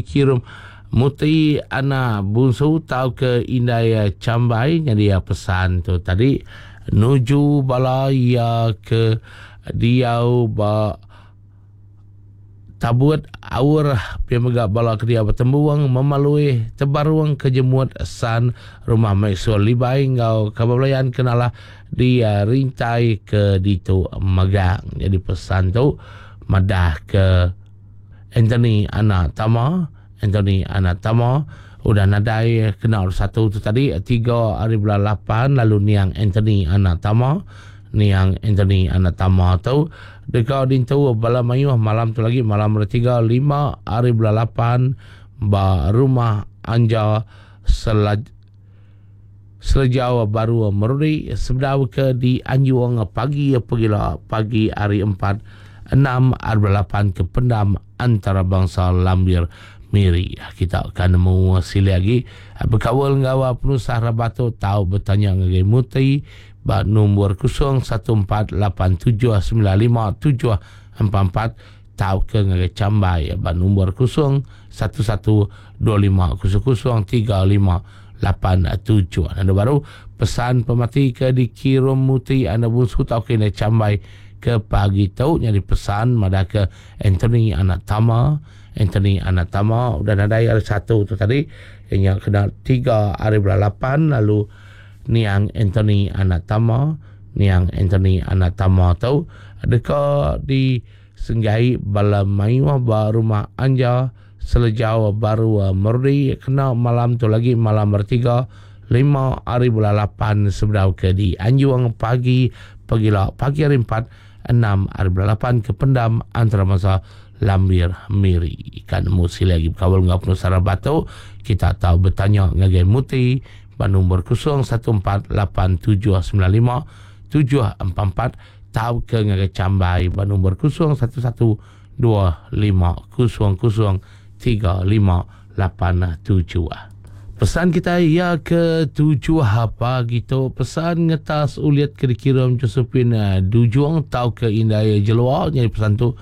dikirum Muti anak Bunsu tauka Indai Chambai nyadi pesan tu tadi nuju bala iya ke diau ba Tabut Aur pia mega bala ke diau ba Tembung, Memalui, Tebarung ke Jemut San, Rumah Maxwell Libai enggau kaban belayan ke nalah di rintai ke ditu magang. Nyadi pesan tu madah ke Anthony anak Tama, Anthony anak Tama udah nadai kena hari satu tu tadi tiga hari bulan lapan lalu niang Anthony anak Tama niang Anthony anak Tama tu deka dintu bala mayuh malam tu lagi malam hari tiga lima hari bulan lapan ba rumah Anja Selaj Selejau Baru Merudi sebedau ke dianjung pagi pegila pagi hari empat enam hari bulan lapan ke pendam antarabangsa Lambir Miri. Kita ka nemu silik agi bekaul enggau penusah rabat tu tau betanya ngagai Muti ba nombor 0148795744 tauka ngagai Chambai ba nombor 0112500358. Anu baru pesan pemati ke dikirum Muti anda bungsu tauka indai Chambai ke pagi tu nyadi pesan madah ke Anthony anak Tama Anthony anak Tama udah nadai hari satu tu tadi iya nya kena tiga hari bulan lapan lalu niang Anthony anak Tama niang Anthony anak Tama tu deka disenggai bala mayuh ba rumah Anja Selejau Baru Merudi kena malam tu lagi malam hari tiga lima hari bulan lapan sebedau ke dianjung pagi pegila pagi hari empat enam ari bulan lapan ke pendam antarabangsa Lambir Miri. Ka nemu sili agi bekaul enggau penusah rabat tu, kita tau betanya ngagai Muti ba nombor 0148795744 tauka ngagai Chambai ba nombor 0112500358. Pesan kitai iya ke tujuh pagi tu pesan ngetas ulit ke dikirum Josephine Dujung tauka Indai Jelua nyadi pesan tu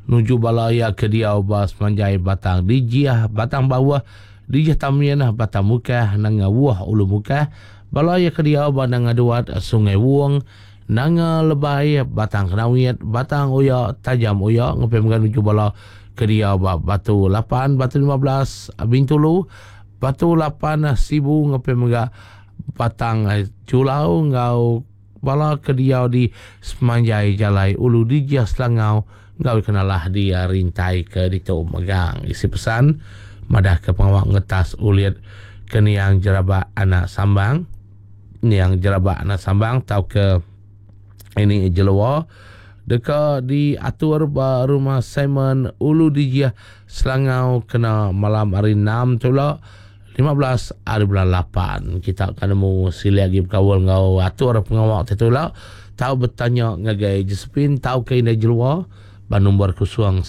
nuju bala iya ke diau ba semanjai Batang Dijih, Batang Bauh, Dijih Tamin, Batang Mukah, Nanga Wuh Ulu Mukah, bala iya ke diau ba Nanga Duat, Sungai Wong, Nanga Lebai, Batang Kenawit, Batang Oya, Tajam Oya ngepih mega nuju bala ke diau ba Batu lapan, Batu 15, Bintulu, Batu lapan, Sibu ngepih mega Batang Julau enggau bala ke diau di semanjai jalai Ulu Dijih Selangau enggau kenalah di rintai ke ditu mega. Isi pesan madahka pengawa ngetas ulit ke niang Jerabak Anak Sambang. Niang Jerabak Anak Sambang tauka ini Jelua deka diatur ba Rumah Simon Ulu Dijih Selangau kena malam hari enam tu ila 15 hari bulan lapan. Kita akan nemu silik agi bekaul enggau atur pengawa ti tu ila. Tau betanya ngagai Josephine tauka Indai Jelua ba nombor 011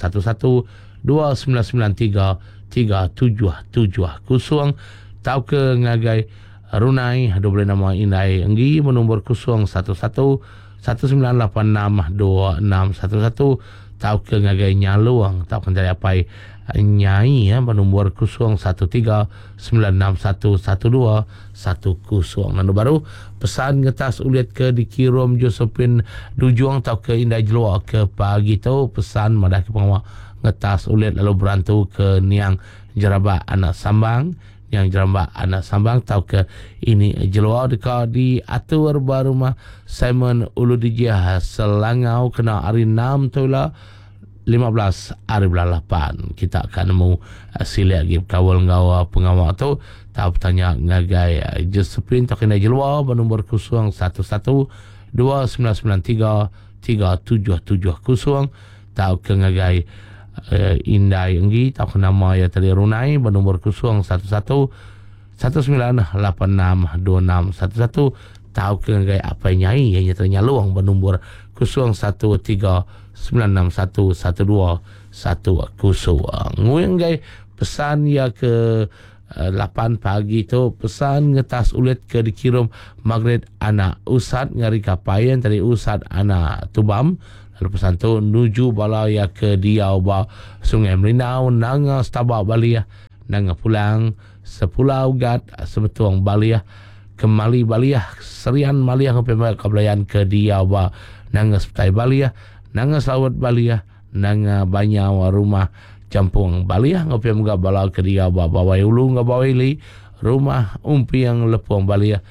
2993 3770 tauka ngagai Runai, dua bulih nama indai enggi benombor 011 1986 2611 tauka ngagai Nyalung tauka entari apai Nyai benombor 013 961 1210. Lalu baru pesan ngetas ulit ke dikirum Josephine Dujung tauka Indai Jelua ke pagi tu pesan madah ke pengawa ngetas ulit lalu berantu ke niang Jerabak Anak Sambang Nyang jerambak anak sambang tauka ini jelua deka diatur ba rumah Simon Ulu Dijih Selangau kena hari enam tu ila 15 hari bulan lapan. Kita ka nemu silik agi bekaul enggau pengawa tu tau betanya ngagai Josephine tauka indai jelua ba nombor 011 2993 3770 tauka ngagai indai enggi tauka nama iya tadi Runai ba nombor 011 1986 2611 tauka ngagai apai nyai iya nya tadi Nyalong ba nombor 013 961 1210. Nguing ngagai pesan iya ke lapan pagi tu pesan ngetas ulit ke dikirum Margaret anak Usat ngari kapai iya tadi Usat anak Tubam lalu pesan tu nuju bala iya ke diau ba Sungai Melinau Nanga Staba Balih. Nanga Pulang, Sepulau Gat, Sebetung Balih, Kemali Balih, Serian Malih enggau pia mega ka belayan ke diau ba Nanga Sepetai Balih, Nanga Selaut Balih, Nanga Banyau Rumah Champung Balih enggau pia mega bala ke diau ba Bawai Ulu enggau Bawai Ili, Rumah Umping Lepung Balih,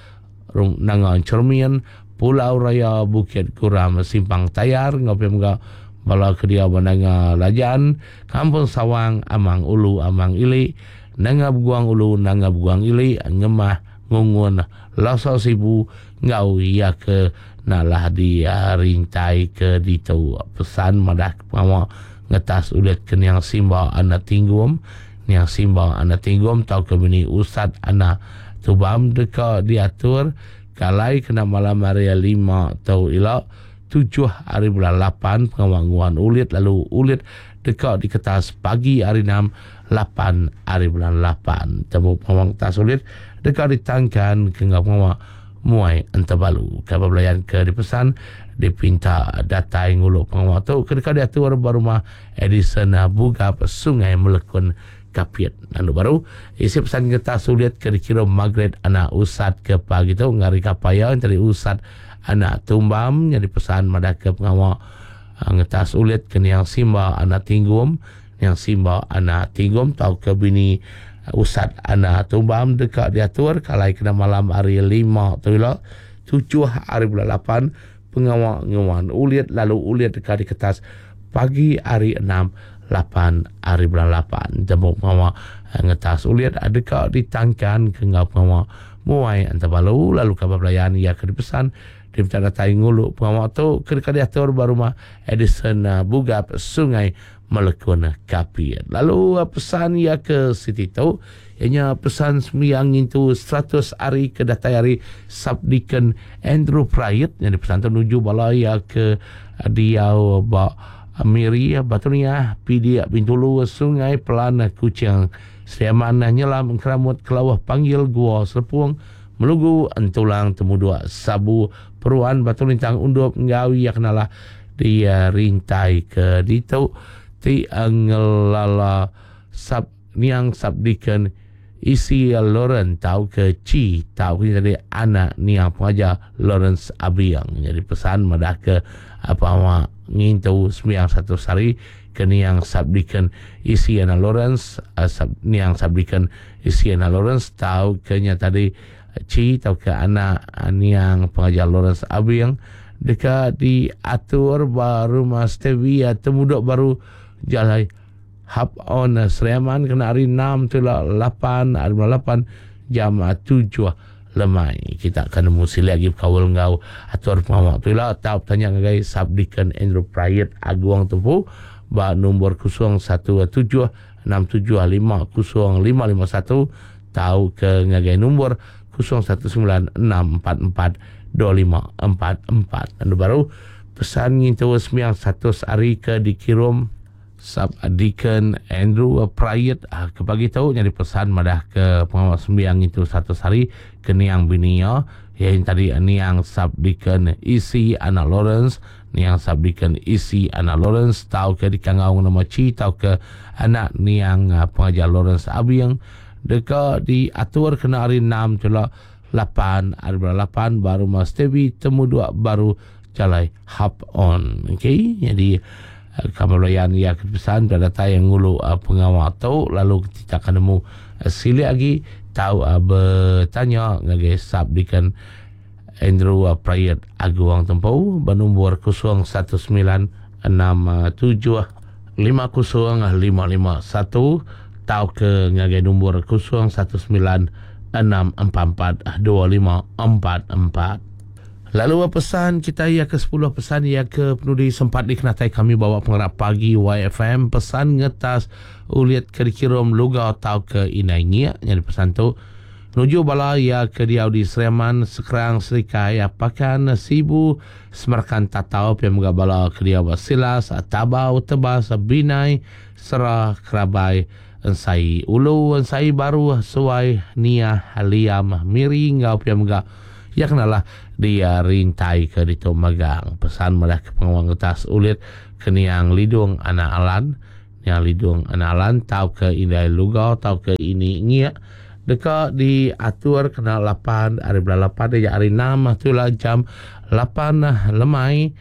Nanga Enchermin, Pulau Raya Bukit Guram Simpang Tayar enggau pia mega bala ke diau ba Nanga Lajan, Kampung Sawang, Amang Ulu Amang Ili, Nanga Beguang Ulu Nanga Beguang Ili, Ngemah, Ngungun, Lasa Sibu enggau iya ke nalah di rintai ke ditu. Pesan madah ke pengawa ngetas ulit ke niang Simba anak Tinggum, niang Simba anak Tinggum tauka bini Usat anak Tubam deka diatur Kalai kena malam hari lima tu ila, tujuh hari bulan lapan pengawa nguan ulit lalu ulit deka diketas pagi hari enam, lapan hari bulan lapan. Tembu pengawa ngetas ulit deka ditangkan ke enggau pengawa muai entebalu. Kaban belayan ke dipesan dipinta datai ngulu pengawa tu ke deka diatur ba rumah Edison Bugap Sungai Melekun Kapit. Anu baru, isi pesan ngetas sulit ke dikirum Margaret anak Usat ke pagi tu ngari kapal iya entari Usat anak Tumbam nyadi pesan madah ke pengawa ah, ngetas ulit ke niang Simba anak Tinggum, niang Simba anak Tinggum tauka bini ah, Usat anak Tumbam deka diatur kalai kena malam hari lima tu ila tujuh hari bulan lapan pengawa nguan ulit lalu ulit deka diketas pagi hari enam lapan hari bulan lapan. Jemuk pengawa eh, ngetas ulit deka ditangkan ke enggau pengawa muai antabalu lalu kaban belayan iya ke dipesan diminta datai ngulu pengawa tu ke deka diatur ba rumah Edison eh, Bugap Sungai Melekun Kapit. Lalu eh, pesan iya ke siti tu iya nya pesan sembiang ngintu 100 hari ke datai ari Subdeacon Andrew Prait nyadi pesan tu nuju bala iya ke diau ba Miri, Batu Niah, Pidik, Bintulu, Sungai Pelan, Kuching, Sri Aman, Nyelam, Engkeramut, Kelauh, Panggil, Gua, Selepung, Melugu, Entulang, Temuduk, Sabu, Peruan, Batu Lintang, Undup enggau iya kenalah di rintai ke ditu ti ngelala sub niang subdeacon Isi Lawrence tauka Chi tauka nya tadi anak niang pengajar Lawrence Abiang. Nyadi pesan madah ke pengawa ngintu sembiang satu sehari ke niang subdeacon Isi anak Lawrence sub, niang subdeacon Isi anak Lawrence tauka nya tadi Chi tauka anak niang pengajar Lawrence Abiang deka diatur ba rumah Stevie Temudok Baru Jalai Hap On Sri Aman kena hari enam tu ila lapan hari bulan lapan jam tujuh lemai. Kita akan nemu silik agi bekaul enggau atur pengawa tu ila tau betanya ngagai Subdeacon Andrew Prayit Agung tu empu ba nombor 017 675 0551 tau ke ngagai nombor 019 644 2544. Anu baru pesan ngintu sembiang 100 hari ke dikirum Sub Deacon Andrew Prayit ke pagi tu nyadi pesan madah ke pengawa sembiang ngintu 100 hari ke niang bini iya, iya nya tadi niang Sub Deacon Isi anak Lawrence, niang Sub Deacon Isi anak Lawrence tauka dikangau nama Chi tauka anak niang pengajar Lawrence Abing deka diatur kena hari enam tu ila lapan hari bulan lapan ba Rumah Stevie Temuduk Baru Jalai Hap On. Okey, jadi kaban belayan iya ke pesan peda datai ngulu pengawa tu lalu kita akan nemu silik agi tau betanya ngagai Sub Deacon Andrew Prayet Agung Tempu ba nombor 019 67 50551 tauka ngagai nombor 019 644 2544. Lalu pesan kita iya ke 10 pesan iya ke penudi sempat dikenatai kami bawa pengarap pagi YFM pesan ngetas ulit ke dikirum luga tauka inai ngiak nyadi pesan tu nuju bala iya ke diau di Sri Aman, Sekerang, Serikai, Pakan, Sibu, Semerkan Tatau pia mega bala ke diau ba Silas, Tabau, Tebas, Binai, Sera, Kerabai, Ensai Ulu, Ensai Baru, Suai, Niah, Liam, Miri enggau pia mega iya kenalah di rintai ke ditu magang. Pesan madah ke pengawa ngetas ulit ke niang Lidung anak Alan. Niang Lidung Anak Alan tauka Indai Luga tauka Ini Ngiek deka diatur kena lapan ari bulan lapan iya hari enam tu ila jam lapan lemai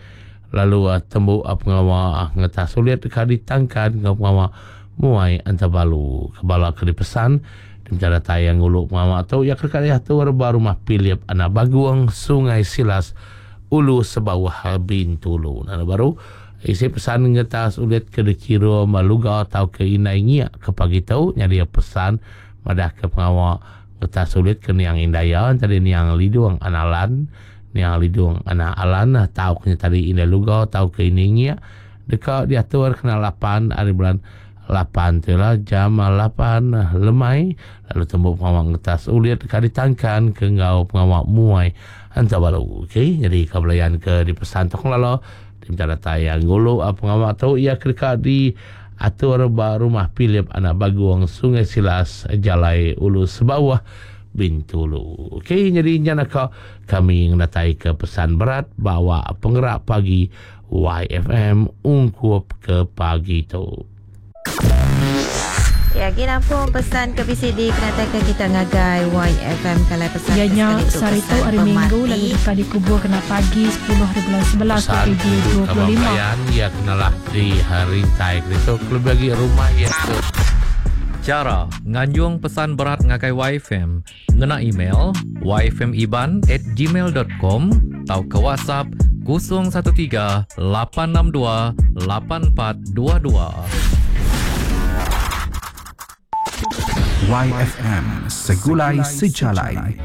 lalu tembu pengawa ngetas ulit deka ditangkan enggau pengawa muai entabalu. Ke bala ke dipesan dipinta datai ngulu pengawa tu iya ke deka diatur ba Rumah Philip Anak Bagung, Sungai Silas, Ulu Sebauh, Bintulu. Lalu baru isi pesan ngetas ulit ke dikirum Luga tauka Indai Ngiak ke pagi tu nyadi pesan madahka pengawa ngetas ulit ke niang indai iya entadi niang Lidung Anak Alan, niang Lidung Anak Alan tauka nya tadi Indai Luga tauka Ini Ngiak deka diatur kena lapan ari bulan lapan tu ila jam lapan lemai lalu tembu pengawa ngetas ulit deka ditangkan ke enggau pengawa muai enta balu. Okey nyadi ka belayan ke dipesan tu kelala diminta datai ngulu pengawa tu iya ke deka diatur ba Rumah Philip Anak Bagung Sungai Silas Jalai Ulu Sebauh Bintulu. Okey nyadi nya naka kami ngenatai ke pesan berat ba awak pengerak pagi YFM ungkup ke pagi tu. Ya, agi nampung pesan ke bisi dikenataika kita ngagai YFM kalai pesan Iya ke nya sekali tu sehari tu pesan hari Minggu lalu pemati. deka dikubur kena pagi sepuluh hari bulan 11 Pesan tuju kaban 2025. belayan iya kenalah di rintai ke ditu kelebih agi rumah iya ke Chara nganjung pesan berat ngagai YFM Ngena email yfmiban@gmail.com tauka WhatsApp 013 862 8422. YFM Segulai Sejalai.